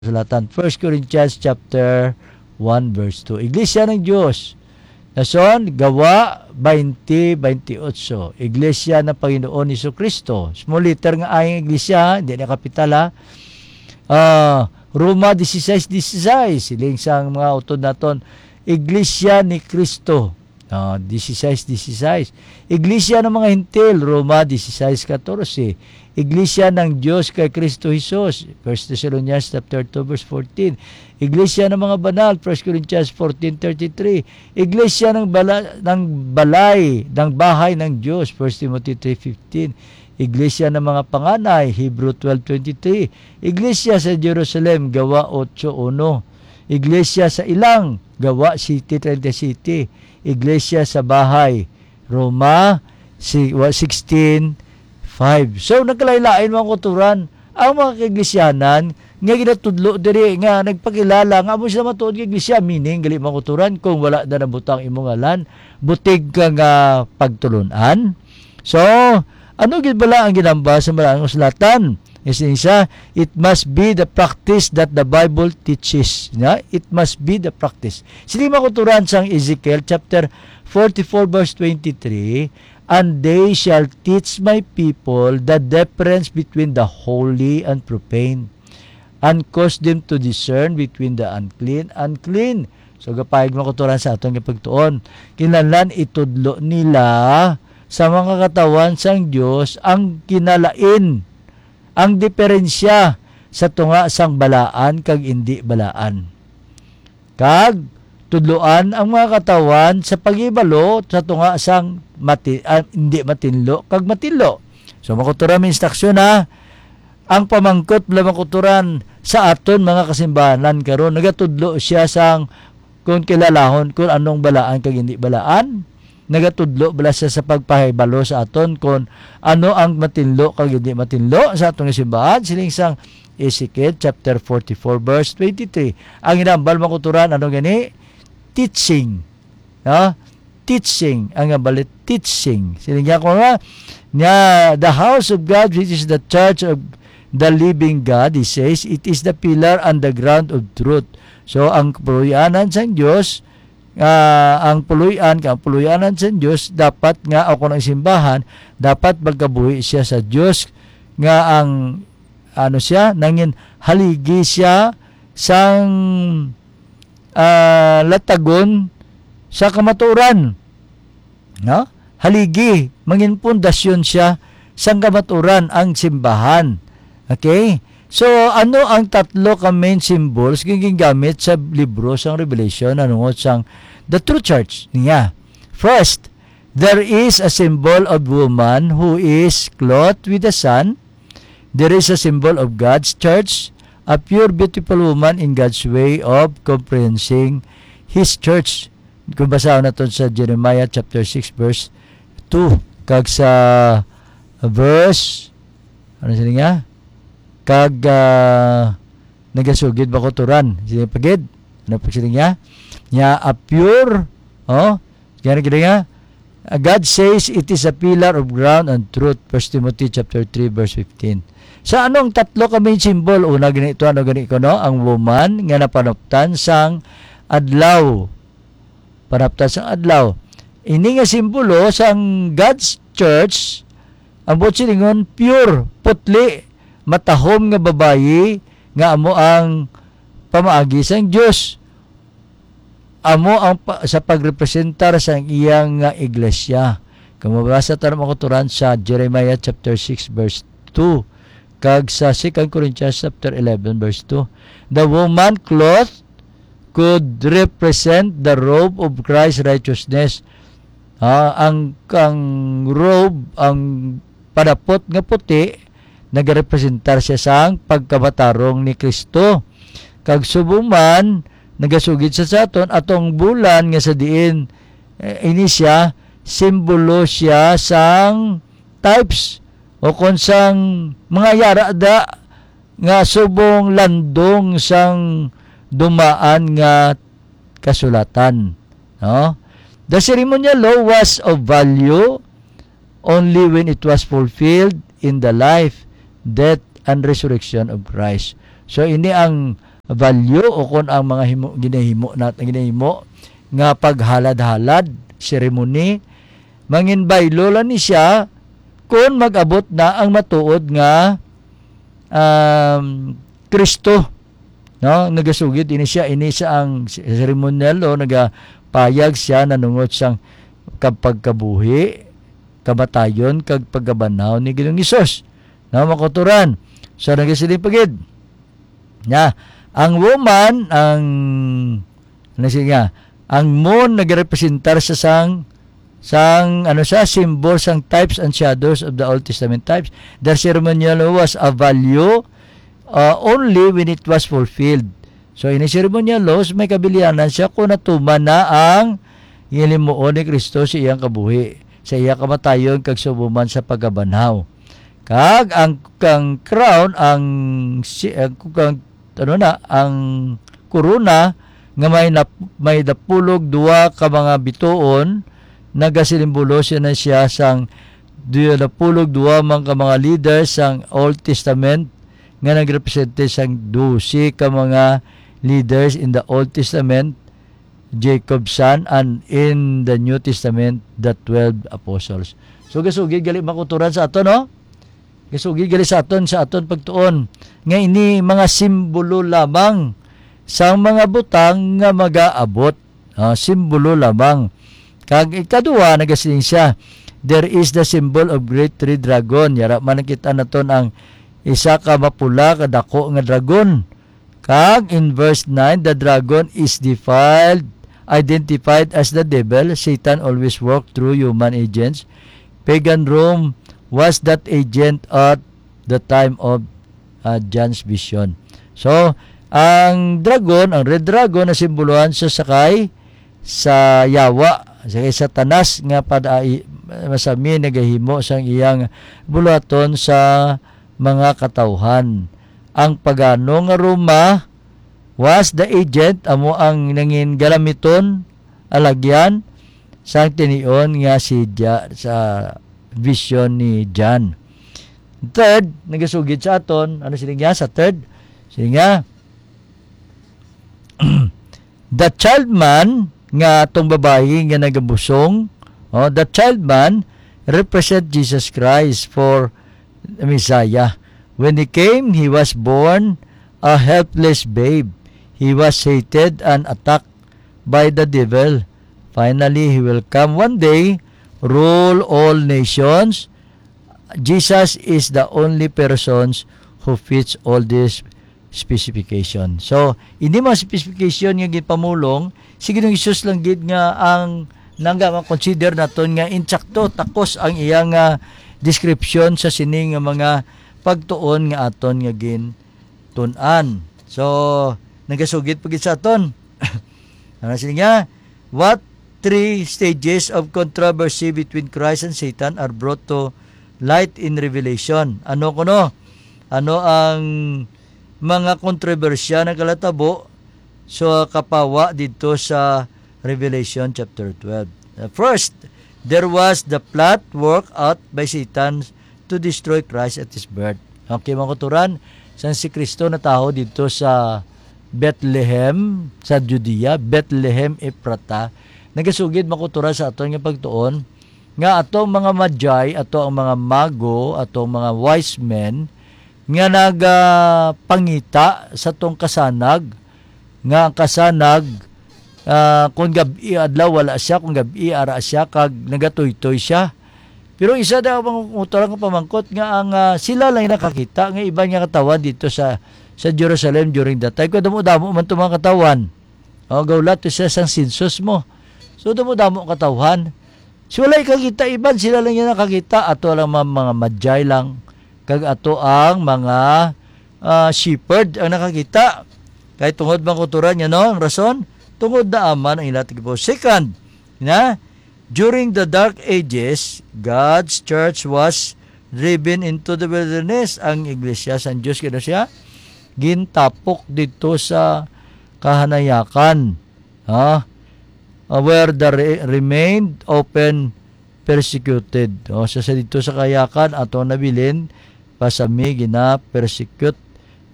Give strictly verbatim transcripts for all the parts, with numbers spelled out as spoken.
Kasulatan. First Corinthians chapter one, verse two. Iglesia ng Diyos. Nason, Gawa twenty twenty-eight. Iglesia ng Panginoon Jesucristo. Small letter nga ay ang iglesia, hindi na kapital, ha. Ah, Roma dieciséis dieciséis, siling sang mga utod naton, Iglesia ni Cristo. Ah, dieciséis dieciséis. Iglesia ng mga Hentil, Roma dieciséis catorce. Iglesia ng Diyos kay Cristo Jesus, First Thessalonians chapter two, verse fourteen. Iglesia ng mga banal, First Corinthians fourteen thirty-three. Iglesia ng bala-, ng balay, ng bahay ng Diyos, First Timothy three fifteen. Iglesia ng mga panganay, Hebrew twelve twenty-three. Iglesia sa Jerusalem, Gawa eight one. Iglesia sa Ilang, Gawa siete treinta y siete. Iglesia sa bahay, Roma, si, wa, sixteen five. So, nagkalain-lain, mga kauturan, ang mga kaiglesyaan nga ginatudlo diri nga nagpakilala nga amo sila matuod nga iglesia, meaning, gali, mga kauturan, kung wala na nabutang imo ngalan, butig ka nga pagtulon-an. So, ano gid bala ang ginamba sa Malaang Kasulatan? Is isa, it must be the practice that the Bible teaches. Na? It must be the practice. Sini, mga kauturan, sang Ezekiel chapter forty-four, verse twenty-three, "And they shall teach my people the difference between the holy and profane, and cause them to discern between the unclean and clean." So, gapayag, mga kauturan, sa aton nga pagtuon. Kinahanglan itudlo nila sa mga katawan sang Dios ang kinalain, ang diferensya sa tunga sang balaan kag indi balaan. Kag tudloan ang mga katawan sa paghibalo sa tunga sang mati-, ah, indi matinlo kag matinlo. So, mga kauturan, may instruksyon, ha. Ang pamangkot bala, mga kauturan, sa aton mga kasimbahanan karon, nagatudlo siya sang kung kilalahon kung anong balaan kag hindi balaan. Nagatudlo bala siya sa pagpahibalo sa aton kung ano ang matinlo kag hindi matinlo sa aton nga simbahan, siling sang Ezekiel chapter forty-four, verse twenty-three. Ang ginahambal, mga kauturan, ano gani? Teaching. No? Teaching. Ang ginahambal, teaching. Siling niya ko nga, nga, "The house of God, which is the church of the living God," he says, "it is the pillar and the ground of truth." So, ang kapuloy-anan sang Dios, ah, ang puloy-an, ang puloy-anan sang Dios, dapat nga, o kung ang simbahan, dapat magkabuhi siya sa Dios, nga ang, ano siya, nangin haligi siya sang, ah, latagon sa kamatuoran. No? Haligi, mangin pundasyon siya sang kamatuoran ang simbahan. Okay? So, ano ang tatlo ka main symbols nga gingamit sa libro sang Revelation nahanungod sang the true church niya? First, there is a symbol of woman who is clothed with the sun. There is a symbol of God's church, a pure, beautiful woman in God's way of comprehending His church. Kung basahon naton sa Jeremiah chapter six, verse two, kag sa verse, ano sila nga? Kag, ah, nagasugid ba ko turan? Sila pagid? Ano pa sila nga? Nya, a pure, oh, kaya na gid nga, ah, God says it is a pillar of ground and truth, First Timothy chapter three, verse fifteen. Sa anong tatlo ka main symbol? Una, gani ito, ano gani ko, no? Ang woman nga napanuptan sang adlaw. Panaptan sang adlaw. Ini nga simbolo sang God's church, ang buot silingon, pure, putli, matahom nga babayi nga amo ang pamaagi sang Dios. Amo ang pa-, sa pagrepresentar sang iya nga iglesia. Kung mabasa ta ang mga kauturan sa Jeremiah chapter six, verse two, kag sa Second Corinthians chapter eleven, verse two, the woman cloth could represent the robe of Christ's righteousness. Ah, ang, ang robe, ang padapot nga puti, nagarepresentar siya sang pagkamatarong ni Kristo. Kag subong man, nagasugid sa, sa aton, atong bulan nga sa diin, eh, ini siya, simbolo siya sang types o kon sang mga yara da nga subong landong sang dumaan nga kasulatan, no? The ceremonial law was of value only when it was fulfilled in the life, death, and resurrection of Christ. So, ini ang value, o kon ang mga himo, ginahimo nat-, ginahimo nga paghalad-halad, ceremony, manginbaylo lang ni siya kon mag-abot na ang matuod nga, um, Kristo, no? Nagasugid ini siya, ini siya ang ceremonial law, nagapayag siya nanungod sang kag pagkabuhi, kamatayon, kag pagkabanhaw ni Ginoong Hesus. No, mga kauturan. So, nagasiling pa gid. Na, ang woman, ang, ano siya nga, ang moon nagrepresentar sa sang, sang, ano siya, symbol sang types and shadows of the Old Testament types. The ceremonial law was a value, uh, only when it was fulfilled. So, ini ceremonial laws, may kabilianan siya kung natuman na ang ginhimuon ni Kristo sa iyang kabuhi, sa iya kamatayon, kag subong man sa pagkabanhaw. Kag ang, kang crown, ang si-, ang, kang, ano na, ang korona nga may nap-, may napulog duwa ka mga bituon, nagasimbolo siya na siya sang duwa napulog duwa man ka mga leaders sang Old Testament nga nagrepresente sang dose ka mga leaders in the Old Testament, Jacob's son, and in the New Testament, the twelve apostles. So, gasugid gali, mga kauturan, sa aton, no? Gasugid gali sa aton, sa aton pagtuon nga ini mga simbolo lamang sang mga butang nga magaabot. Ah, simbolo lamang. Kag ikaduha, nagasiling siya, "There is the symbol of great red dragon." Yara man nakita naton ang isa ka mapula ka dako nga dragon. Kag in verse nine, the dragon is defiled, identified as the devil. Satan always worked through human agents. Pagan Rome was that agent at the time of, uh, John's vision. So, ang dragon, ang red dragon, nasimbolohan sa sakay sa yawa, sa kay Satanas nga pada-, masami nagahimo sang iyang buluhaton sa mga katawhan. Ang pagano nga Roma was the agent, amo ang nangin galamiton, alagyan, sang tinion nga si Ja-, sa vision ni John. Third, nagasugid sa aton, ano sila niya sa third? Sila niya, the child man nga atong babayi nga nagabusong, oh, the child man represent Jesus Christ for the Messiah. When he came, he was born a helpless babe. He was hated and attacked by the devil. Finally, he will come one day, rule all nations. Jesus is the only persons who fits all these specification. So, ini mga specification nga ginpamulong, si Ginoong Jesus lang gid nga ang nangga ma-consider naton nga insakto, takos ang iyang, ah, description sa sini nga mga pagtuon nga aton nga gintun-an. So, nagasugid pa gid sa aton. Ano sini nga? What three stages of controversy between Christ and Satan are brought to light in Revelation? Ano kuno? Ano ang mga kontrobersiya nagalatabo sa kapawa didto sa Revelation chapter twelve? Uh, first, there was the plot work out by Satan to destroy Christ at his birth. Okay, mga kauturan, sang si Kristo natawo didto sa Bethlehem, sa Judea, Bethlehem Ephrata, nagasugid, mga kauturan, sa aton nga pagtuon nga ato ang mga magi, ato ang mga mago, ato ang mga wise men nga nagapangita sa tong kasanag, nga ang kasanag, ah, kung gab-i adlaw wala siya, kung gab-i ara siya, kag nagatuytoy siya. Pero isa daw ang utang nga pamangkot nga ang, ah, sila lang yung nakakita, nga iban nga katawan dito sa, sa Jerusalem during that time. Kung damo-damo man itong mga katawan, o, gawlat to siya sang census mo. So, damo-damo katawan. So, wala kakita iban, sila lang yung nakakita. Ato lang mga, mga magi lang, kag ato ang mga, ah, shepherd ang nakakita. Kay tungod man kauturan niya, no? Ang rason, tungod na aman ang ila tigipo. Second, na, during the Dark Ages, God's church was driven into the wilderness. Ang iglesia sang Diyos, kano siya? Gintapok dito sa kahanayakan. Ha? Ah, where the re-, remained open persecuted. O, sa, sa dito sa kayakan, ato nabilin, pasami gina-persecute.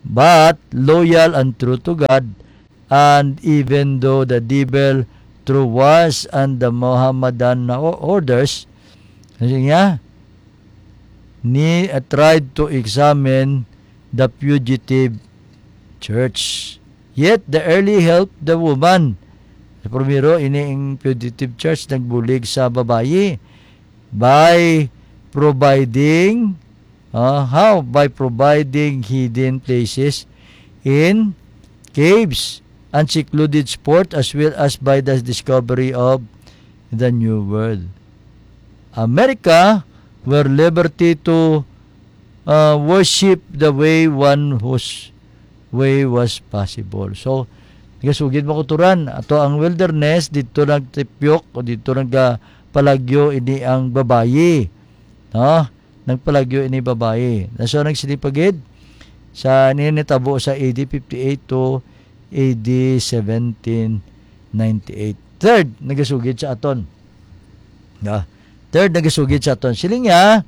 but loyal and true to God, and even though the devil through wars and the Mohammedan o-, orders, kasi nga, ni, uh, tried to examine the fugitive church. Yet the early helped the woman. Sa primero, ini ang fugitive church nagbulig sa babayi by providing, uh, how? By providing hidden places in caves and secluded spot, as well as by the discovery of the New World. America were liberty to, uh, worship the way one whose way was possible. So, nagasugid, mga kauturan, ato ang wilderness, dito nagtipyok o dito nagpalagyo ini ang babayi. No? Nagpalagyo ini babayi. Na, so, nagsilipagid sa ninitabo sa A D fifty-eight to A D seventeen ninety-eight. Third, nagasugid sa aton. No? Third, nagasugid sa aton. Siling niya,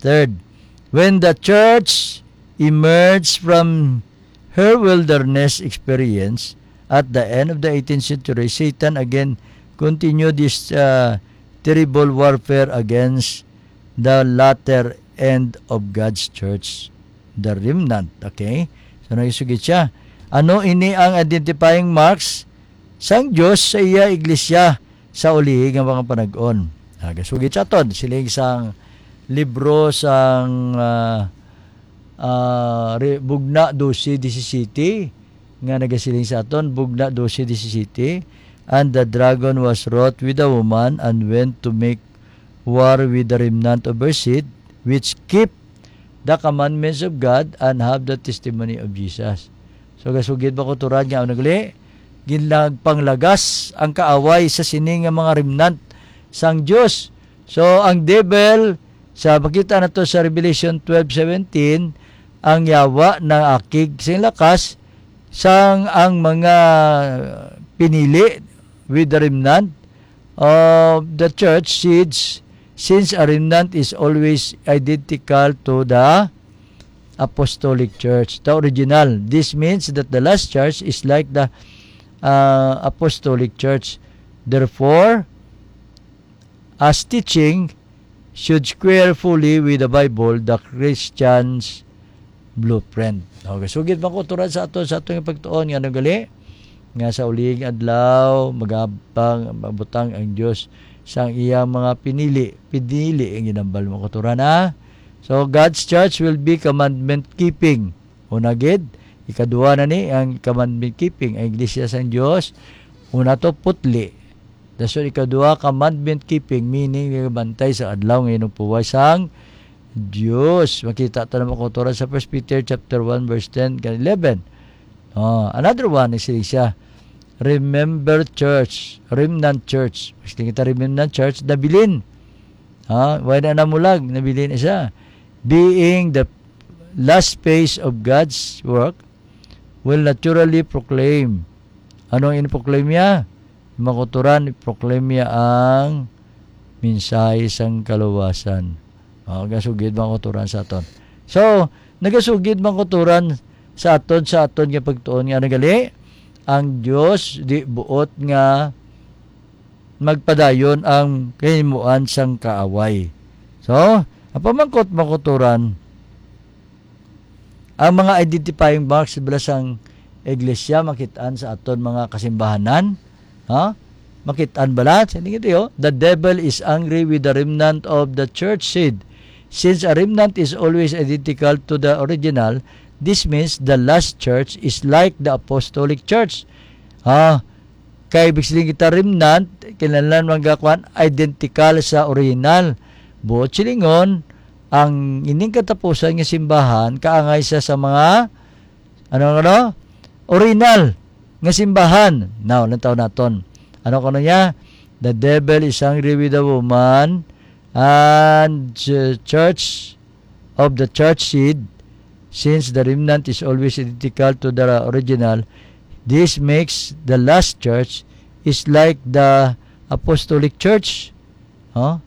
third, when the church emerged from her wilderness experience at the end of the eighteenth century, Satan again continued this, uh, terrible warfare against the latter end of God's church, the remnant. Okay? So, nagasugid siya. Ano ini ang identifying marks sang Dios sa iya iglesia sa ulihi nga mga panag-on? Nagasugid sa aton, siling sang libro sang, ah, ah, Re-, Bugna dose disisete, nga nagasiling sa aton, Bugna dose disisete, "And the dragon was wroth with the woman, and went to make war with the remnant of her seed, which keep the commandments of God and have the testimony of Jesus." So, gasugid, mga kauturan, nga ano gali? Ginagpanglagas ang kaaway sa sini nga mga remnant sang Dios. So, ang devil, sa makita nato sa Revelation twelve seventeen, ang yawa nang akig sing lakas sang ang mga pinili with the remnant of the church seeds, since a remnant is always identical to the apostolic church, the original. This means that the last church is like the, uh, apostolic church. Therefore, as teaching should square fully with the Bible, the Christian's blueprint. Okay, sugid, mga kauturan, sa aton, sa aton nga pagtuon nga ano gali, nga sa uling adlaw magabang, mabutang ang Dios sang iyang mga pinili, pinili ang ginambal, mga kauturan, ha? So, God's church will be commandment keeping. Una gid, ikaduha na ni ang commandment keeping, ang iglesia sang Dios. Una to, putli. Dason ikaduha, commandment keeping, meaning nagabantay sa adlaw nga inupuway sang Dios. Makita ta naman, mga kauturan, sa First Peter chapter one, verse ten kag eleven. Oh, another one is siya, remember church, remnant church. Mas kita remnant church, nabilin. Ha? Wala na namulag, nabilin na siya. Being the last phase of God's work, will naturally proclaim. Ano ang in-proclaim niya? Mga kauturan, i-proclaim niya ang mensahe sang kaluwasan. Oh, gasugid, mga kauturan, sa aton. So, nagasugid, mga kauturan, sa aton, sa aton nga pagtuon nga nagali, ang Dios di buot nga magpadayon ang kahimuan sang kaaway. So, ang pamangkot, mga kauturan, ang mga identifying marks bala sang iglesia makit-an sa aton mga kasimbahanan, ha? Makit-an bala? Sa tingin tayo, the devil is angry with the remnant of the church seed. Since a remnant is always identical to the original, this means the last church is like the apostolic church. Ha? Kay ibig siling kita remnant, kinahanglan man gakuan identical sa original. Buot silingon, ang ining katapusan nga simbahan kaangay sa, sa mga, ano, ano? Original nga simbahan. Now, lantaw naton. Ano kuno niya? The devil is angry with the woman, and the church of the church seed, since the remnant is always identical to the original, this makes the last church is like the apostolic church. Huh?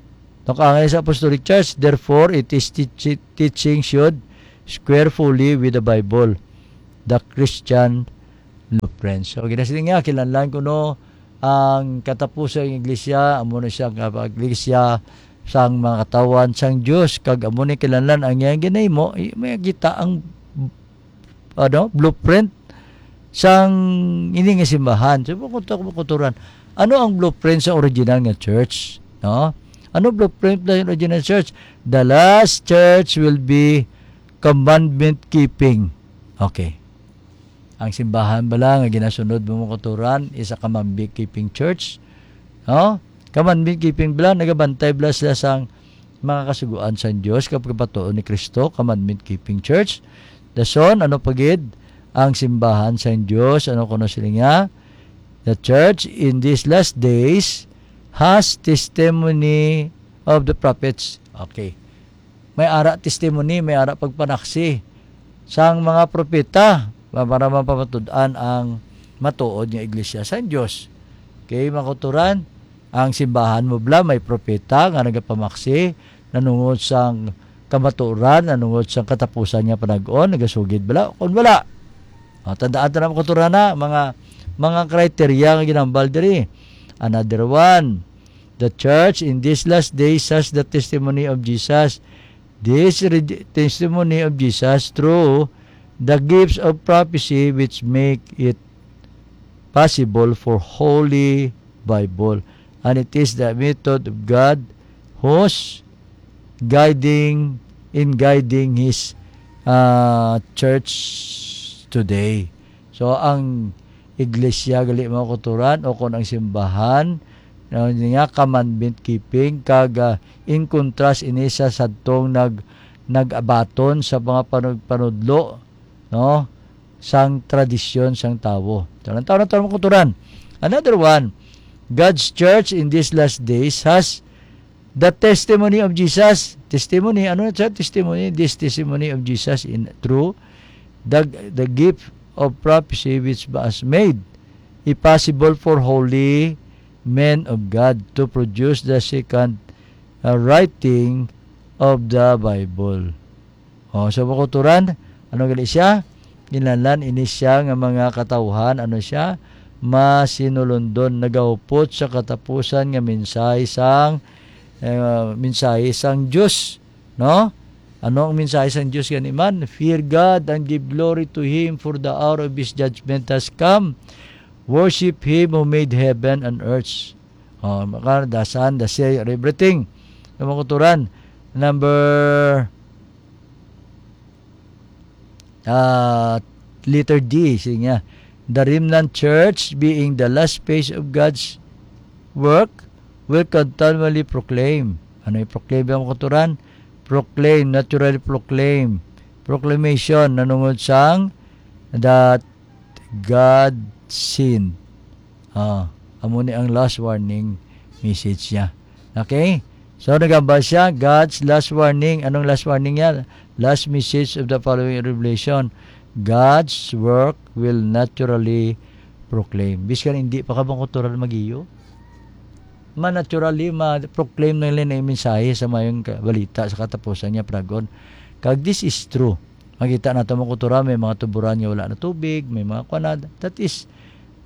Nakaangay sa apostolic church, therefore, it is teach-, teaching should square fully with the Bible. the Christian blueprint. So, ginasiling nga, kinahanglan kuno ang katapusan ng iglesia, amo na siya nga iglesia sang mga katawhan sang Dios, kag amo ni kinahanglan ang iyang ginahimo, i-, may kita ang, ano, blueprint sang ini nga simbahan. So, makuto-, makuturan, ano ang blueprint sa original nga church? No? Ano blueprint sa original church? The last church will be commandment keeping. Okay. Ang simbahan bala nga ginasunod mo, mga kauturan, is a commandment keeping church. No? Commandment keeping bala, nagabantay bala sila sang mga kasugoan sang Dios kag pagpatuo ni Cristo, commandment keeping church. Dason, ano pa gid ang simbahan sang Dios? Ano kuno sila nga? The church in these last days has testimony of the prophets. Okay. May ara testimony, may ara pagpanaksi sang mga propeta pa-, para mapamatud-an ang matuod nga iglesia sang Dios. Okay, mga kauturan, ang simbahan mo bala may propeta nga nagapamaksi nanungod sang kamatuoran, nanungod sang katapusan nga panag-on, nagasugid bala? Kung wala, ah, tandaan ta na, mga kauturan, na mga, mga kriteria nga ginambal diri. Another one, the church in these last days has the testimony of Jesus. This re-, testimony of Jesus through the gifts of prophecy which make it possible for Holy Bible. And it is the method of God whose guiding, in guiding His, uh, church today. So, ang iglesia gali, mga kauturan, o kon ang simbahan, no, nga commandment keeping, kag, ah, in contrast ini sa sadtong nag-, nag-abaton sa mga panud-, panudlo, no, sang tradisyon sang tawo. So, ang tawo na tawo, mga kauturan. Another one, God's church in these last days has the testimony of Jesus. Testimony, ano na siya? Testimony, this testimony of Jesus in true, the, the gift of prophecy which was made it possible for holy men of God to produce the second, uh, writing of the Bible. O, so, mga kauturan, ano gali siya? Kinahanglan ini siya nga mga katawhan, ano siya? Masinulondon, nagahupot sa katapusan nga mensahe sang, eh, mensahe sang Dios, no? Ano ang mensahe sang Dios gani man? "Fear God and give glory to Him, for the hour of His judgment has come. Worship Him who made heaven and earth." O, maka-, the sun, the sea, everything. Mga kauturan, number, ah, letter D, sige nga. The remnant church, being the last phase of God's work, will continually proclaim. Ano i-proclaim, mga kauturan? Proclaim, naturally proclaim. Proclamation, nanungod sang that God sent. Ah, amo ni ang last warning message niya. Okay? So, nagambal siya, God's last warning. Anong last warning niya? Last message of the following revelation. God's work will naturally proclaim. Biskan hindi pa ka, mga kauturan, mag-iyo, ma-naturally ma-proclaim na nila yung mensahe sa mayong ka-, balita sa katapusan niya, paragon. Kag this is true. Makita nato, mga kauturan, may mga tuburan nga wala na tubig, may mga kuwan na. That is,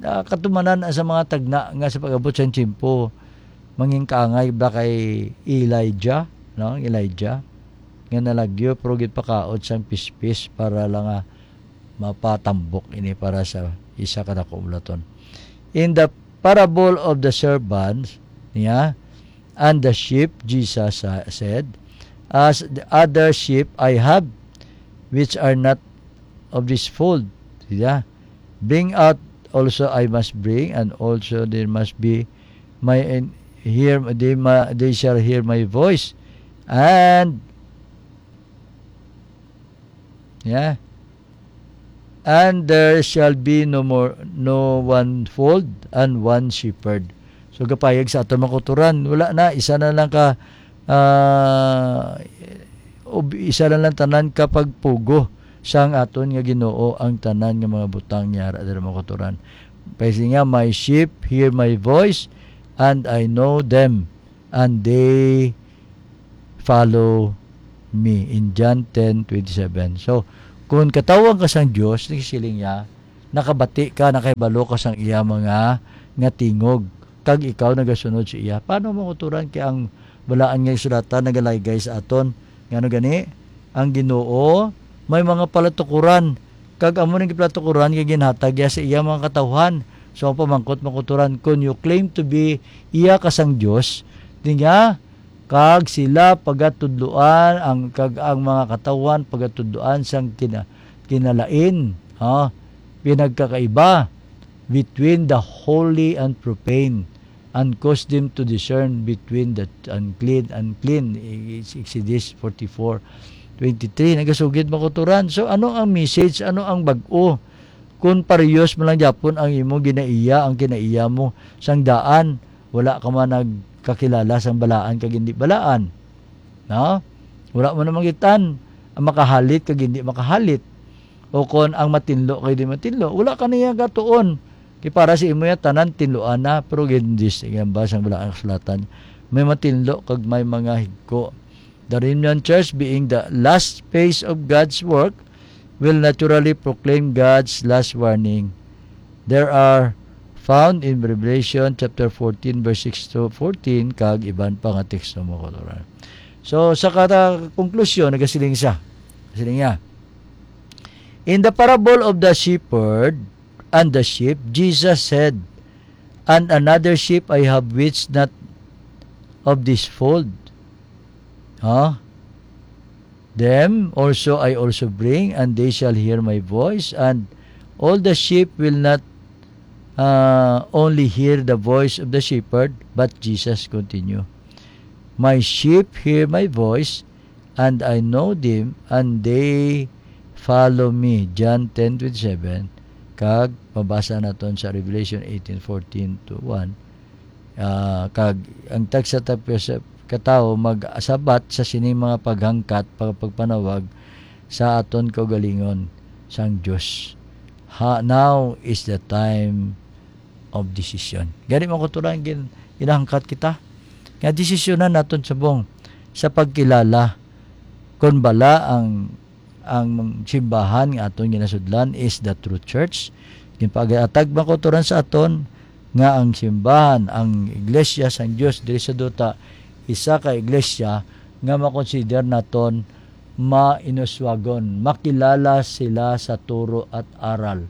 ah, katumanan sa mga tagna nga sa pag-abot sa tiyempo, mangin kaangay ba kay Elijah, no? Elijah, nga nalagyo, pero ginpakaot sang pispis para lang nga mapatambok ini para sa isa ka dako nga bulaton. In the parable of the servants, niya, and the sheep, Jesus sa-, said, "As the other sheep I have, which are not of this fold." Yeah. "Bring out also I must bring, and also there must be my, and hear, they ma-, they shall hear my voice." And, yeah. "And there shall be no more, no one fold and one shepherd." So, gapayag sa aton, mga kauturan, wala na, isa na lang ka, ah, ub-, isa na lang tanan ka pagpugo sang aton nga Ginoo ang tanan nga mga butang niya ra dira, mga kauturan. Kay siya nga, "My sheep hear my voice, and I know them, and they follow me," in John ten twenty-seven. So, Kon katawhan ka sang Dios, nagsiling niya, nakabati ka, nakahibalo ka sang iya mga nga tingog, kag ikaw nagasunod sa iya. Paano mo uturan kay ang balaan nga sulatan nagalaygay sa aton? Ngano gani? Ang Ginoo may mga palatukuran, kag amo ning palatukuran nga ginhatag iya sa iya mga katawhan. So, ang pamangkot, mga kauturan, kon you claim to be iya ka sang Dios, di nga, kag sila pagatudloan, ang, kag ang mga katawhan pagatudloan sang kina-, kinalain, ha, pinagkakaiba between the holy and profane, and cause them to discern between the unclean, unclean. Exodus forty-four twenty-three. Nagasugid, mga kauturan. So, ano ang message? Ano ang bag-o? Kung parehas man lang gyapon ang imo ginaiya, ang kinaiya mo sang daan, wala ka man nagkakilala sang balaan kag hindi balaan. No? Wala mo na manggitan ang makahalit kag hindi makahalit. O kon ang matinlo kag di matinlo, wala ka niya gatuon. Kay para sa imo ya, tanan tinluan na, pero gindis, yan ba sang balaan kasulatan? May matinlo kag may mga higko. The remnant church, being the last phase of God's work, will naturally proclaim God's last warning. There are found in Revelation chapter fourteen, verse six to fourteen, kag iban pa nga teksto, mga kauturan. So, sa kata-, konklusyon, nagasiling siya. Siling niya, "In the parable of the shepherd and the sheep, Jesus said, 'And another sheep I have, which not of this fold.'" Huh? "Them also I also bring, and they shall hear my voice, and all the sheep will not, uh, only hear the voice of the shepherd," but Jesus continue, "My sheep hear my voice, and I know them, and they follow me." John ten twenty-seven, kag mabasa naton sa Revelation eighteen fourteen to one. Ah, kag ang tagsa-tagsa ka tawo magasabat sa sining mga paghangkat, pag-, pagpanawag sa aton kaugalingon sang Dios. Ha, now is the time of decision. Gani, mga kauturan, gin-, ginahangkat kita nga desisyonan naton subong sa pagkilala kon bala ang, ang simbahan nga aton ginasudlan is the true church. Ginpagahatag, mga kauturan, sa aton nga ang simbahan, ang iglesia sang Dios diri sa duta, isa ka iglesia nga makonsider naton mainuswagon, makilala sila sa turo at aral.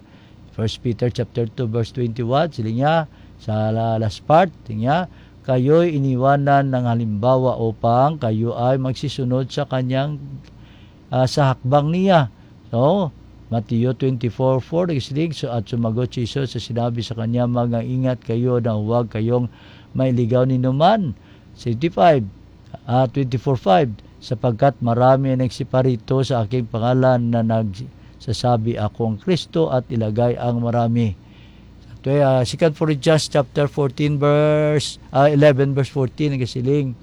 First Peter chapter two, verse twenty-one, siling niya, sa la-, last part, siling niya, "Kayo'y iniwanan ng halimbawa upang kayo ay magsisunod sa kanyang, ah, sa hakbang niya." So, Mateo twenty-four four, nagsiling, so, at sumagot si Jesus sa sinabi sa kanya, "Mag-ingat kayo na huwag kayong mailigaw ni numan." Seventy-five, ah, twenty-four five, "Sapagkat marami ang nagsiparito sa aking pangalan na nagsasabi, 'Ako ang Kristo,' at ilagay ang marami." Ito, ah, Second Corinthians chapter fourteen, verse, ah, eleven, verse fourteen, nagasiling,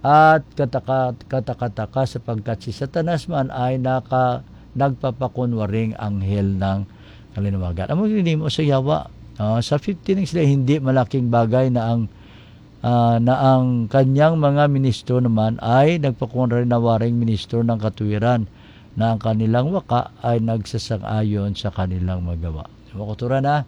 "At kataka-, katakataka, sapagkat si Satanas man ay naka-, nagpapakunwaring anghel ng kalinawagan." Amo ginimo sa yawa. Ah, sa fifteen, sila, "Hindi malaking bagay na ang, ah, na ang kanyang mga ministro naman ay nagpakunwaring ministro ng katuwiran, na ang kanilang waka ay nagsasang-ayon sa kanilang magawa." So, mga kauturan, ha?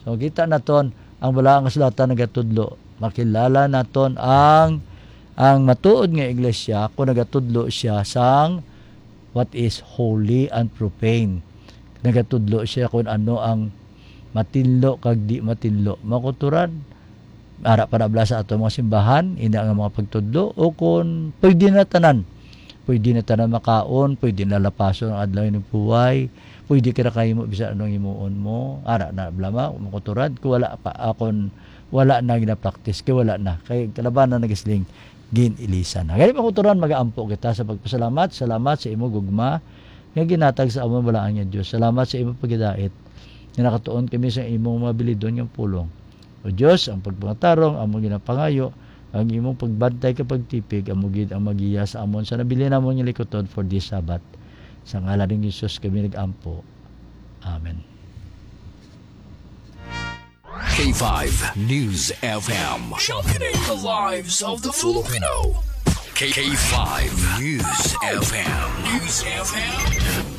So, kita naton ang Balaang Kasulatan nagatudlo. Makilala naton ang, ang matuod nga iglesia kung nagatudlo siya sang what is holy and profane. Nagatudlo siya kung ano ang matinlo kag di matinlo. Mga kauturan, ara pa na bala sa ato mga simbahan, ina nga mga pagtudlo, o kung pwede na tanan. Pwede na tanan makaon, pwede na lapason ang adlaw nga buhay, pwede ka na kahimo bisan anong himuon mo. Ara na bala, mga kauturan, kung wala pa, ah, kung wala na gina-practice, kay wala na. Kay kalabanan nagasiling, gin-ilisan na. Gani, mga kauturan, mag-aampo kita sa pagpasalamat. Salamat sa imo gugma nga ginatag sa amon, balaan nga Dios. Salamat sa imo paghidait nga nakatuon kami sa imong mga bilidon nga pulong. O Dios, ang pagpangatarong among ginapangayo, ang imong pagbantay kag pagtipig, amo gid ang magiya sa amon sa nabilin namon nga likuton for this Sabbath. Sa ngalan ni Jesus kami nag-ampo. Amen. K five News F M. Sharpening the lives of the Filipino. K five News F M. News F M.